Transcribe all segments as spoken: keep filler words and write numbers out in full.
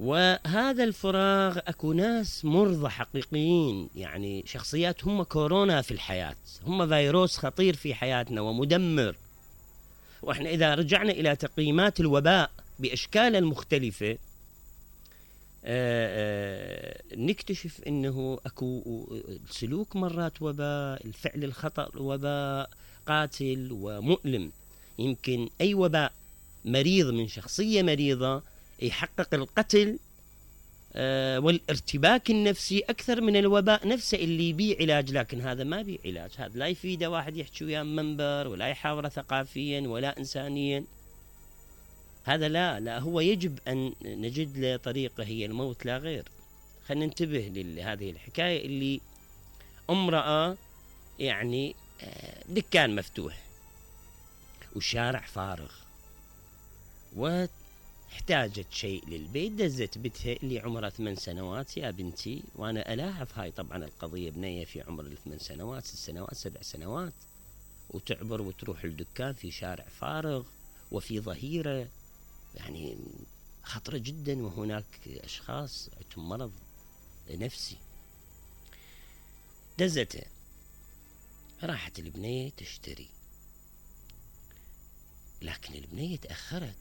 وهذا الفراغ اكو ناس مرضى حقيقيين، يعني شخصيات هم كورونا في الحياة، هم فيروس خطير في حياتنا ومدمر. واحنا اذا رجعنا الى تقييمات الوباء باشكاله المختلفة آآ آآ نكتشف انه اكو سلوك مرات وباء، الفعل الخطأ وباء قاتل ومؤلم. يمكن اي وباء مريض من شخصية مريضة يحقق القتل والارتباك النفسي أكثر من الوباء نفسه اللي بيه علاج، لكن هذا ما بيه علاج. هذا لا يفيده واحد يحكي وياه منبر، ولا يحاوره ثقافيا ولا إنسانيا. هذا لا لا هو يجب أن نجد له طريقة، هي الموت لا غير. خلينا ننتبه لهذه الحكاية اللي امرأة يعني دكان مفتوح والشارع فارغ، و احتاجت شيء للبيت، دزت بنتها اللي عمرها ثمان سنوات. يا بنتي، وانا الاحظ هاي طبعا القضية، بنية في عمر الثمان سنوات ست سنوات سبع سنوات، وتعبر وتروح الدكان في شارع فارغ وفي ظهيرة، يعني خطرة جدا، وهناك اشخاص عندهم مرض نفسي. دزته، راحت البنية تشتري، لكن البنية تأخرت،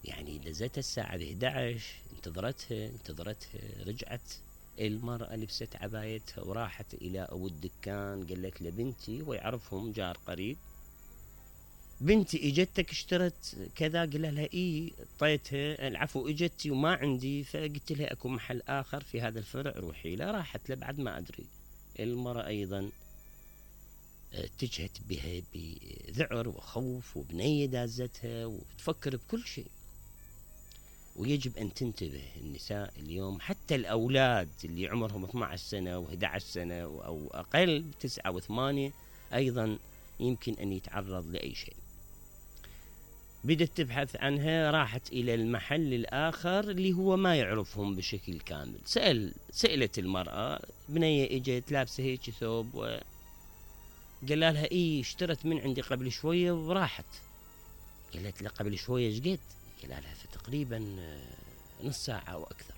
يعني دزتها الساعة إحدى عشر، انتظرتها انتظرتها رجعت المرأة لبست عبايتها وراحت إلى أبو الدكان، قالت له بنتي، ويعرفهم جار قريب، بنتي اجتك اشترت كذا؟ قال لها اي، اعطيتها العفو اجتي وما عندي، فقلت لها اكو محل اخر في هذا الفرع روحي له. راحت له بعد ما ادري. المرأة ايضا اتجهت بها بذعر وخوف، وبنية دازتها وتفكر بكل شيء. ويجب أن تنتبه النساء اليوم، حتى الأولاد اللي عمرهم اثنتي عشرة سنة وإحدى عشرة سنة أو أقل، تسعة وثمانية، أيضا يمكن أن يتعرض لأي شيء. بدت تبحث عنها، راحت إلى المحل الآخر اللي هو ما يعرفهم بشكل كامل. سأل سألت المرأة، بنية اجت لابسة هيك ثوب، و قال لها إيه اشترت من عندي قبل شوية وراحت. قالت له قبل شوية ايش قد؟ قال لها فتقريبا نص ساعة أو أكثر.